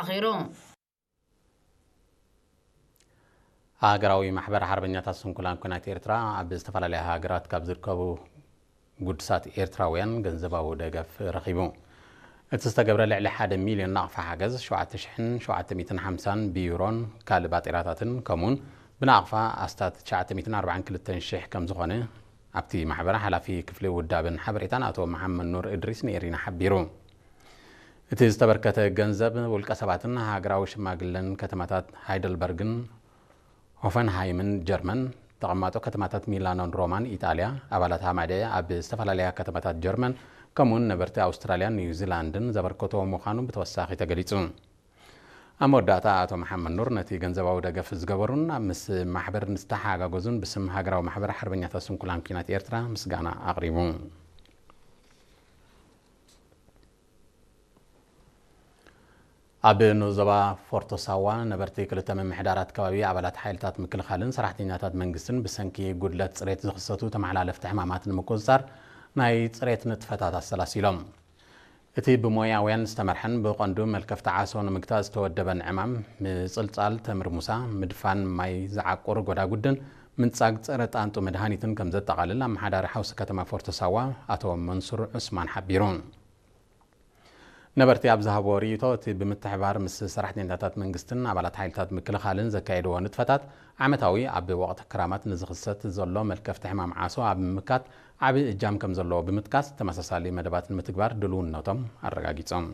ኣኺሩ። ሃገራዊ ማሕበር ሓርበኛታት ስንኩላን ኲናት ኤርትራ ኣብ ዝተፈላለያ ሃገራት ካብ ዝርከቡ ግዱሳት ኤርትራውያን ገንዘባዊ ደገፍ ረኺቡ። እቲ ዝተገብረ ልዕሊ ሓደ ሚልዮን ናቕፋ ሓገዝ፣ ሸውዓተ ሽሕን ሸውዓተ ሚእትን ሓምሳን ብዩሮን ካልእ ባጤራታትን፣ ከምኡውን ብናቕፋ ኣስታት ትሽዓተ ሚእትን ኣርባዓን ክልተን ሽሕ ከም ዝኾነ ኣብቲ ማሕበር ሓላፊ ክፍሊ ውዳበን ሓበሬታን ኣቶ መሓመድ ኑር እድሪስ ንኤሪና ሓቢሩ። እቲ ዝተበርከተ ገንዘብ ውልቀ ሰባትን ሃገራዊ ሽማግለን ከተማታት ሃይደልበርግን ሆፈንሃይምን ጀርመን፣ ተቐማጦ ከተማታት ሚላኖን ሮማን ኢጣልያ፣ ኣባላት ሃማደ ኣብ ዝተፈላለያ ከተማታት ጀርመን፣ ከምኡውን ነበርቲ ኣውስትራልያን ኒውዚላንድን ዘበርከቶ ምዃኑ ብተወሳኺ ተገሊጹ። ኣብ መወዳእታ ኣቶ መሓመድ ኑር ነቲ ገንዘባዊ ደገፍ ዝገበሩን ኣብ ምስ ማሕበር ዝተሓጋገዙን ብስም ሃገራዊ ማሕበር ሓርበኛታት ስንኩላን ኲናት ኤርትራ ምስጋና ኣቕሪቡ። ኣብ ንዞባ ፎርቶ ሳዋ ነበርቲ ክልተ ምምሕዳራት ከባቢ ኣባላት ሓይልታት ምክልኻልን ሰራሕተኛታት መንግስትን ብሰንኪ ጉድለት ጽሬት ዝኽሰቱ ተመሓላለፍቲ ሕማማት ንምቁጽጻር ናይ ጽሬት ንጥፈታት ኣሰላሲሎም። እቲ ብሞያውያን ዝተመርሐን ብቐንዱ መልከፍቲ ዓሶ ንምግታእ ዝተወደበን ዕማም፣ ምጽልጻል ተምሪ ሙሳ፣ ምድፋን ማይ ዝዓቁር ጎዳጉድን ምንጻግ ጸረ ጣንጡ መድሃኒትን ከም ዘጠቓልል ኣመሓዳሪ ሓውሲ ከተማ ፎርቶ ሳዋ ኣቶ መንሱር ዑስማን ሓቢሩ። ነበርቲ ኣብ ዝሃብዎ ርእይቶ፣ እቲ ብምትሕባር ምስ ሰራሕተኛታት መንግስትን ኣባላት ሓይልታት ምክልኻልን ዘካየድዎ ንጥፈታት ዓመታዊ ኣብ ወቕቲ ክራማት ንዝኽሰት ዘሎ መልከፍቲ ሕማም ዓሶ ኣብ ምምካት ዓቢ እጃም ከም ዘለዎ ብምጥቃስ፣ ተመሳሳሊ መደባት ንምትግባር ድልውነቶም ኣረጋጊጾም።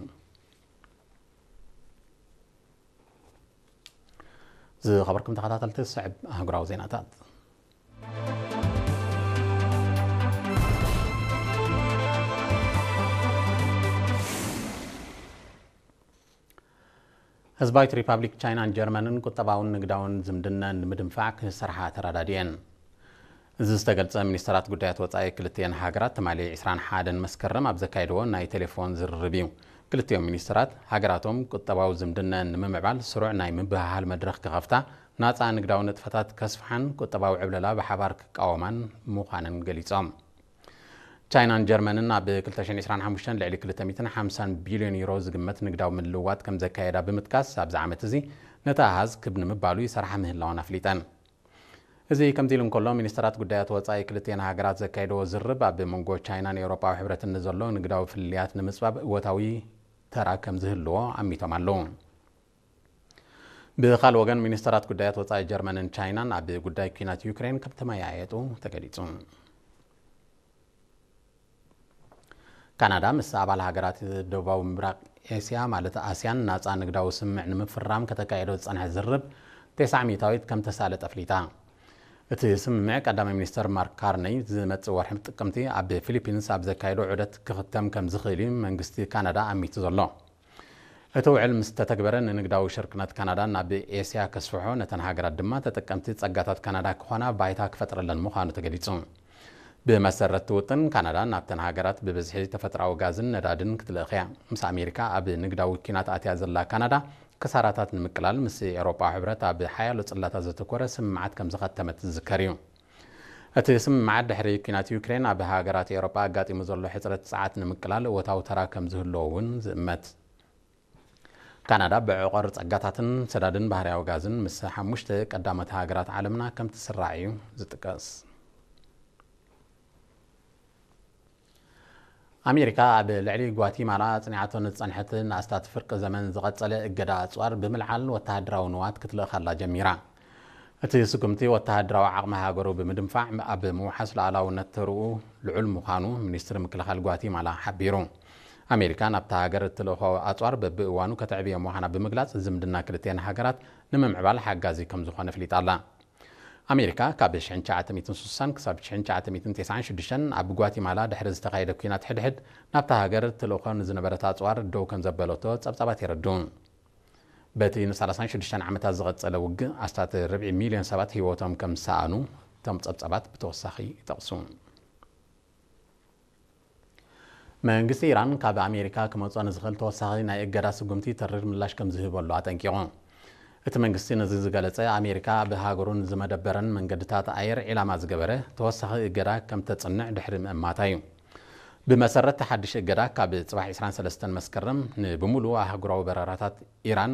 ዝኸበርኩም ተኸታተልቲ፣ ዝስዕብ ኣህጉራዊ ዜናታት። ህዝባዊት ሪፓብሊክ ቻይናን ጀርመንን ቁጠባውን ንግዳውን ዝምድነን ንምድንፋዕ ክሰርሓ ተረዳዲኤን። እዚ ዝተገልጸ፣ ሚኒስተራት ጉዳያት ወጻኢ ክልቲኤን ሃገራት ትማሊ ዕስራን ሓደን መስከረም ኣብ ዘካየድዎ ናይ ቴሌፎን ዝርርብ እዩ። ክልቲኦም ሚኒስተራት፣ ሃገራቶም ቁጠባዊ ዝምድነን ንምምዕባል ስሩዕ ናይ ምብህሃል መድረኽ ክኸፍታ፣ ናጻ ንግዳዊ ንጥፈታት ከስፍሓን ቁጠባዊ ዕብለላ ብሓባር ክቃወማን ምዃነን ገሊጾም። ቻይናን ጀርመንን ኣብ ክልተ ሽሕን ዕስራን ሓሙሽተን ልዕሊ ክልተ ሚእትን ሓምሳን ቢልዮን ዩሮ ዝግመት ንግዳዊ ምልውዋጥ ከም ዘካየዳ ብምጥቃስ፣ ኣብዚ ዓመት እዚ ነቲ ኣሃዝ ክብ ንምባሉ ይሰርሓ ምህላወን ኣፍሊጠን። እዚ ከምዚ ኢሉ እንከሎ፣ ሚኒስተራት ጉዳያት ወጻኢ ክልቲኤን ሃገራት ዘካየድዎ ዝርርብ ኣብ መንጎ ቻይናን ኤውሮጳዊ ሕብረትን ንዘሎ ንግዳዊ ፍልልያት ንምጽባብ እወታዊ ተራ ከም ዝህልዎ ኣሚቶም ኣለዉ። ብኻልእ ወገን፣ ሚኒስተራት ጉዳያት ወጻኢ ጀርመንን ቻይናን ኣብ ጉዳይ ኲናት ዩክሬን ከም ተመያየጡ ተገሊጹ። ካናዳ ምስ ኣባል ሃገራት ደቡባዊ ምብራቕ ኤስያ ማለት ኣስያን ናጻ ንግዳዊ ስምምዕ ንምፍራም ከተካየዶ ዝጸንሐ ዝርርብ ተስዓ ሚእታዊት ከም ተሳለጠ ኣፍሊጣ። እቲ ስምምዕ ቀዳማይ ሚኒስተር ማርክ ካርነይ ዝመጽእ ወርሒ ጥቅምቲ ኣብ ፊሊፒንስ ኣብ ዘካየዶ ዑደት ክኽተም ከም ዝኽእል እዩ መንግስቲ ካናዳ ኣሚቱ ዘሎ። እቲ ውዕል ምስ ተተግበረ ንንግዳዊ ሽርክነት ካናዳ ናብ ኤስያ ከስፍሖ፣ ነተን ሃገራት ድማ ተጠቀምቲ ጸጋታት ካናዳ ክኾና ባይታ ክፈጥረለን ምዃኑ ተገሊጹ። ብመሰረት እቲ ውጥን፣ ካናዳ ናብተን ሃገራት ብብዝሒ ተፈጥሮኣዊ ጋዝን ነዳድን ክትልእኽ እያ። ምስ ኣሜሪካ ኣብ ንግዳዊ ኲናት ኣትያ ዘላ ካናዳ፣ ክሳራታት ንምቅላል ምስ ኤውሮጳዊ ሕብረት ኣብ ሓያሎ ጽላታት ዘተኮረ ስምምዓት ከም ዝኸተመት ዝዝከር እዩ። እቲ ስምምዓት ድሕሪ ኲናት ዩክሬን ኣብ ሃገራት ኤውሮጳ ኣጋጢሙ ዘሎ ሕጽረት ጸዓት ንምቅላል እወታዊ ተራ ከም ዝህልዎ እውን ዝእመት። ካናዳ ብዕቖር ጸጋታትን ሰዳድን ባህርያዊ ጋዝን ምስ ሓሙሽተ ቀዳሞት ሃገራት ዓለምና ከም ትስራዕ እዩ ዝጥቀስ። ኣሜሪካ ኣብ ልዕሊ ጓቲማላ ኣጽኒዓቶ ንዝጸንሐት ንኣስታት ፍርቂ ዘመን ዝቐጸለ እገዳ ኣጽዋር ብምልዓል ወተሃደራዊ ንዋት ክትልእኸላ ጀሚራ። እቲ ስጉምቲ ወተሃደራዊ ዓቕሚ ሃገሩ ብምድንፋዕ ኣብ ምውሓስ ሉዓላውነት ተርኡ ልዑል ምዃኑ ሚኒስትሪ ምክልኻል ጓቲማላ ሓቢሩ። ኣሜሪካ ናብታ ሃገር እትልእኾ ኣጽዋር በብእዋኑ ከተዕብዮ ምዃና ብምግላጽ፣ ዝምድና ክልቲኤን ሃገራት ንምምዕባል ሓጋዚ ከም ዝኾነ ኣፍሊጣ ኣላ። ኣሜሪካ ካብ ሽሕን ትሽዓተ ሚእትን ስሳን ክሳብ ሽሕን ትሽዓተ ሚእትን ተስዓን ሽዱሽተን ኣብ ጓቲማላ ድሕሪ ዝተኻየደ ኲናት ሕድሕድ ናብታ ሃገር ትልእኾ ንዝነበረት ኣጽዋር ደው ከም ዘበለቶ ጸብጻባት የረድኡ። በቲ ንሰላሳን ሽዱሽተን ዓመታት ዝቐጸለ ውግእ ኣስታት ርብዒ ሚልዮን ሰባት ህይወቶም ከም ዝሰኣኑ እቶም ጸብጻባት ብተወሳኺ ይጠቕሱ። መንግስቲ ኢራን ካብ ኣሜሪካ ክመጾ ንዝኽእል ተወሳኺ ናይ እገዳ ስጉምቲ ተሪር ምላሽ ከም ዝህበሉ ኣጠንቂቑ። እቲ መንግስቲ ነዚ ዝገለጸ፣ ኣሜሪካ ብሃገሩን ዝመደበረን መንገድታት ኣየር ዒላማ ዝገበረ ተወሳኺ እገዳ ከም ተጽንዕ ድሕሪ ምእማታ እዩ። ብመሰረት እቲ ሓድሽ እገዳ፣ ካብ ጽባሕ ዕስራን ሰለስተን መስከረም ንብምሉኡ ኣህጉራዊ በረራታት ኢራን